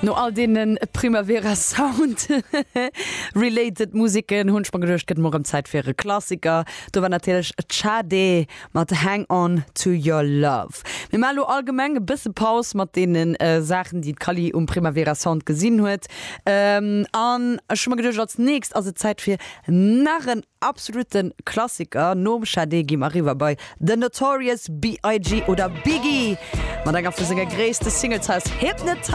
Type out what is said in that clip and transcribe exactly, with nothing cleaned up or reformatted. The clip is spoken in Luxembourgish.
No all deenen Primavera Sound related Museken hunn ech mer geduecht, gëtt mol rëm Zäit fir e Klassiker. Do war natierlech Sade mat Hang On To Your Love. Mir maache lo allgemeng e bësse Paus mat deenen Saachen, déi d'Kally um Primavera Sound gesinn huet. An ech hu mer geduecht, als nächst ass et Zäit fir nach en absolute Klassiker. Nom Sade gi mer eriwwer bei The Notorious B I G oder Biggie mat enger vu senge gréisste Singles aus Hypnotize.